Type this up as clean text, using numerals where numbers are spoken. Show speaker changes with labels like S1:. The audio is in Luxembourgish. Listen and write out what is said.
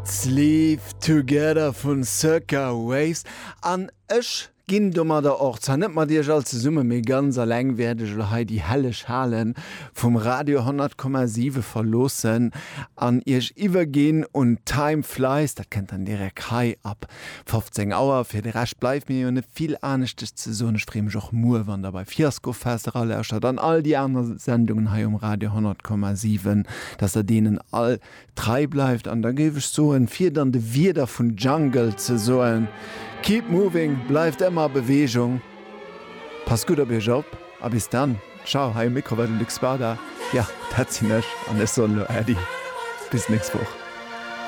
S1: Sleep Together vun Circa Waves an ech ginn domadder och, zwar net mat iech all zesummen, mee ganz alleng wäert ech elo hei déi helleg Hale vum Radio 100,7 verloossen an iech iwwerginn un Time Flies. Dat kënnt dann direkt hei ab 15 Auer. Fir de Rescht bleift mir jo net vill aneschtes ze soen. Ech freeë mech och muer, wann der bei Fiasco Fest eralauschtert an all déi aner Sendungen hei um Radio 100,7, dass der deenen all trei bleift an da géif ech soen, fir et an de Wierder vun Jungle ze soen, Keep moving, bleift ëmmer a Beweegung, passt gutt op iech op a bis dann. Ciao, hei um Mikro war de Luc Spada, jo dat sinn ech an ech soen elo Äddi, bis d'nächst Woch.